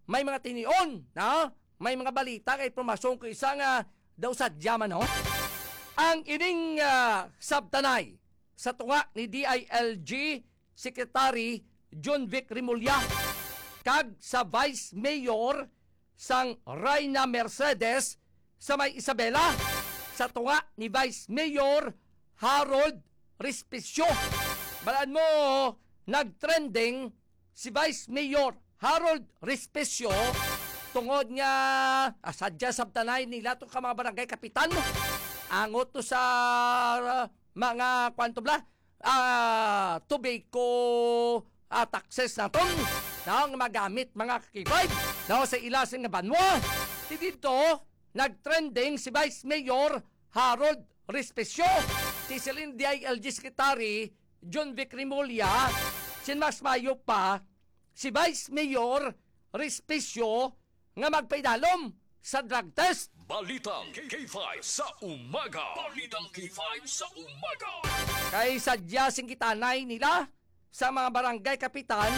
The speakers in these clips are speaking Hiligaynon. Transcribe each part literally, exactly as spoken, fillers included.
may mga tinion, no? May mga balita kay impormasyon ko isa nga daw sadya man, no? Ang ining, ah, sabtanay sa tunga ni D I L G Secretary John Vic Remulla kag sa Vice Mayor sang Reyna Mercedes sa may Isabela, sa tunga ni Vice Mayor Harold Respicio. Balaan mo, nagtrending si Vice Mayor Harold Respicio tungod nga, ah, sadya sabtanay nila to ka mga barangay kapitan. Angot to sa, ah, mga kwanto bla, ah, tobacco, ah, taxes naton, no, nga magamit, mga kakibay, no, sa ila sing nga banwa. Ti dito, nagtrending si Vice Mayor Harold Respicio, ti siling D I L G Secretary John Vic Remulla, sin mas mayo pa, si Vice Mayor Respicio nga magpaidalom sa drug test. Balitang K five sa umaga. Balitang K five sa umaga. Kay sadya sing gitanay nila sa mga barangay kapitan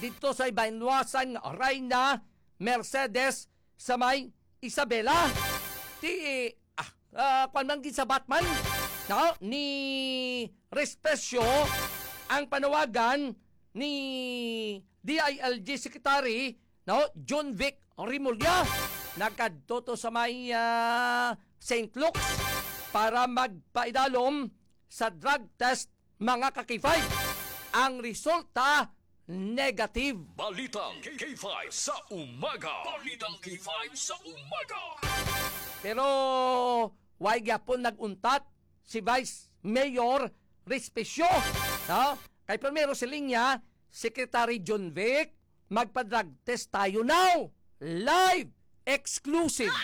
dito sa banwa sang Reyna Mercedes sa may Isabela. Ti, ah, ah, kwan man gid sa Batman, no? Ni Respecio ang panawagan ni D I L G Secretary, no, John Vic Remulla. Nagkadto to sa may, ah, Saint Luke's para magpaidalom sa drug test, mga ka-K five. Ang resulta, negative. Balitang K five sa umaga. Balitang K five sa umaga. Pero way gyapon nag-untat si Vice Mayor Respecio, no? Kay primero siling niya, Secretary John Vic, magpa-drug test tayo now. Live, exclusive.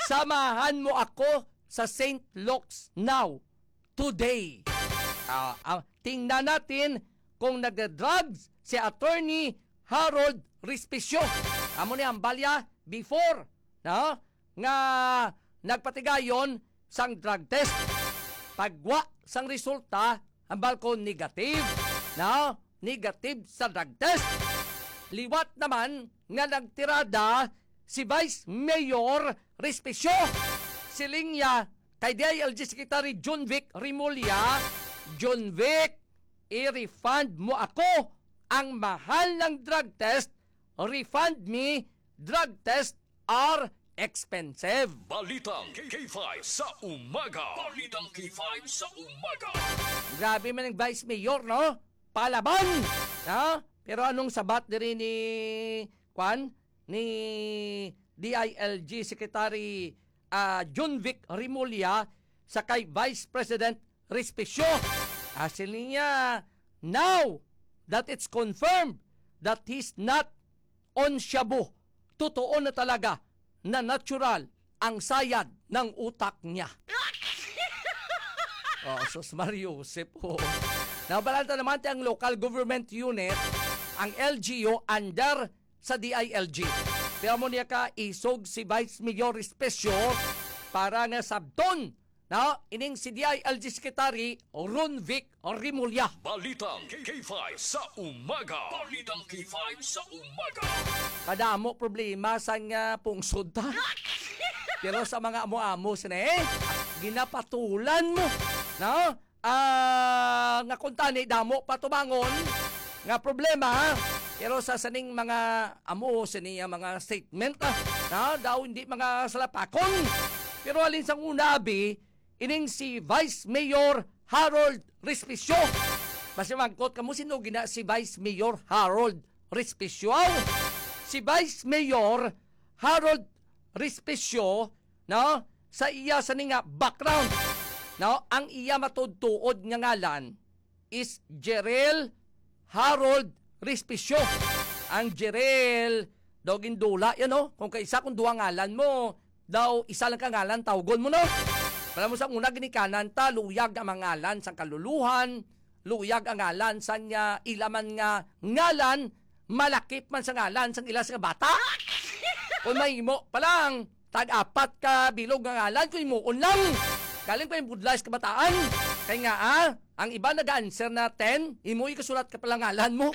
Samahan mo ako sa Saint Luke's now, today. Ah, ah, tingnan natin kung nagda-drugs si Attorney Harold Respicio. Amo ni ang balya before, no? Nga nagpatigayon sang drug test. Pagwa sang resulta, ang balkon negative, no? Negative sa drug test. Liwat naman nga nagtirada si Vice Mayor Respicio. Siling niya kay D I L G Secretary John Vic Remulla, "John Vic, i-refund mo ako ang mahal ng drug test. Refund me, drug test are expensive." Balitang K five sa umaga. Balitang K five sa umaga. Grabe man ang Vice Mayor, no? Palaban, no? Pero anong sabat diri ni, kwan? Ni D I L G Secretary, ah, John Vic Remulla sa kay Vice President Respicio? Asin niya, "Now that it's confirmed that he's not on shabu, totoo na talaga na natural ang sayad ng utak niya." Oh, sus, Mario Joseph, oh. Nabalanta naman ti ang local government unit, ang L G U, under sa D I L G. Pero mo niya ka isog si Vice Mayor Especio para nga sabton, no, ining si D I L G Secretary Ron Vic Remulla. Balitang K five sa umaga. Balitang K five sa umaga. Kadamo problema sang, ah, pungsod ta. Pero sa mga amo-amo sini, ginapatulan mo, no? Ah, nga kuntani damo pa tubangon nga problema, ha? Pero sa saning mga amo sini nga mga statement, ah, na daw hindi mga salapakon. Pero halin sang una, abi, ining si Vice Mayor Harold Respicio. Basi mangkot kamo, sino gina si Vice Mayor Harold Respicio? Aw, si Vice Mayor Harold Respicio, no, sa iya sini nga background, no, ang iya matuod-tuod nga ngalan is Jerel Harold Respicio. Ang Jerel daw gindula yan, no? Kung kaisa, kung duha ngalan mo, daw isa lang ka ngalan tawgon mo, no? Alam mo, sa una, ginikanan ta, luyag ang mga ngalan sang kaluluhan, luyag ang ngalan sang, ah, ila man nga ngalan, malakip man sa ngalan sang ila nga bata. Kung mahimo pa lang, tag-apat ka bilog nga ngalan, kung himuon lang. Galing pa yung budlay sa kabataan. Kay nga, ah, ang iba nag-answer na ten, imo ikasulat ka pala ngalan mo.